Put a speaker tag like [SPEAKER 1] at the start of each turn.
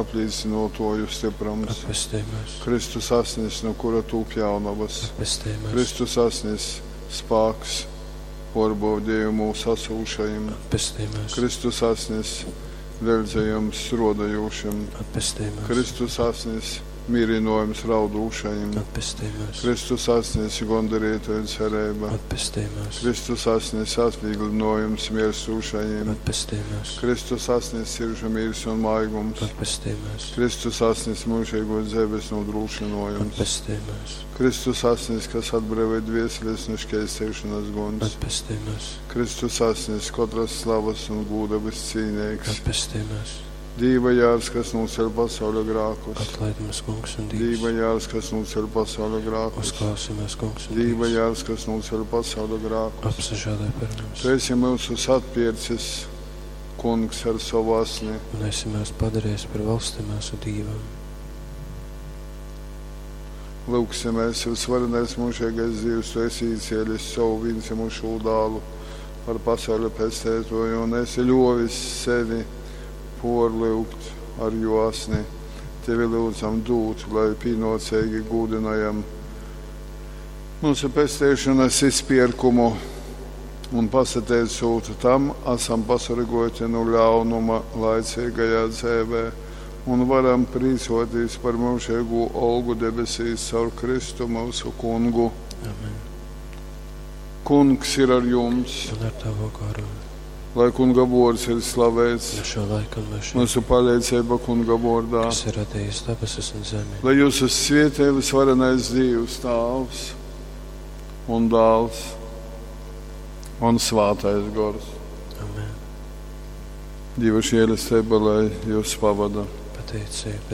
[SPEAKER 1] aplīcynōtōju styprums.
[SPEAKER 2] Atpestej myus.
[SPEAKER 1] Kristus asnis, nu kura tūp jaunovas.
[SPEAKER 2] Atpestej myus.
[SPEAKER 1] Kristus asnis, spāks pōrbaudejumūs asūšajim.
[SPEAKER 2] Atpestej myus.
[SPEAKER 1] Kristus asnis, leļdzejums strōdojūšim.
[SPEAKER 2] Atpestej myus.
[SPEAKER 1] Kristus asnis, mīrynōjums raudūšajim.
[SPEAKER 2] Atpestej myus.
[SPEAKER 1] Kristus asnis, gondarītoju cereiba.
[SPEAKER 2] Atpestej myus.
[SPEAKER 1] Kristus asnis, atvīglynōjums mierstūšajim.
[SPEAKER 2] Atpestej myus.
[SPEAKER 1] Kristus asnis, siržu mīrs un maigums.
[SPEAKER 2] Atpestej myus.
[SPEAKER 1] Kristus asnis, myužeigōs dzeives nūdrūšynōjums.
[SPEAKER 2] Atpestej myus.
[SPEAKER 1] Kristus asnis, kas atbreivoj dvieseles nu škeisteišonas guņs.
[SPEAKER 2] Atpestej myus.
[SPEAKER 1] Kristus asnis, kotras slavas un gūda vyscīneigs.
[SPEAKER 2] Atpestej myus.
[SPEAKER 1] Dīva jārs, kas nūceļ pasauļa grākus.
[SPEAKER 2] Atlaid mums, Kungs un Dievs.
[SPEAKER 1] Dīva jārs, kas nūceļ pasauļa grākus.
[SPEAKER 2] Uzklausi mūs, Kungs un
[SPEAKER 1] Dīva
[SPEAKER 2] Dievs.
[SPEAKER 1] jārs, kas nūceļ pasauļa grākus.
[SPEAKER 2] Apsažēloj par mums.
[SPEAKER 1] Tu esi mūsus atpircis, Kungs, ar savu asni.
[SPEAKER 2] Un esi mūs padarījis par valsti mūsu Dīvam.
[SPEAKER 1] Lūgsimies, visvarenais mūžīgais Dievs, tu esi īcēlis savu vienzimušo dālu par pasauļa pestētoju un esi ļovis sevi porlyugt ar jo asni. Tevi lūdzam dūt, lai pienācīgi gūdinājam mūsu pestēšanas izpirkumu un pasateicot tam, esam pasargoti no ļaunuma laicīgajā dzīvē un varam priecāties par mūžīgo olgu debesīs caur Kristu mūsu kungu.
[SPEAKER 2] Amen.
[SPEAKER 1] Kungs ir ar jums,
[SPEAKER 2] Un ar tavu garu.
[SPEAKER 1] lai kunga vārds ir slavēts,
[SPEAKER 2] No šo laiku un mūžiem,
[SPEAKER 1] mūsu palīdzība kunga vārdā.
[SPEAKER 2] kas ir radījis debesis un zemi.
[SPEAKER 1] Lai jūs svietē visvarenais Dievs, Tāvs un Dāls un Svātais Gors.
[SPEAKER 2] Amen.
[SPEAKER 1] Dieva žēlastība, lai jūs pavada.
[SPEAKER 2] Pateicība.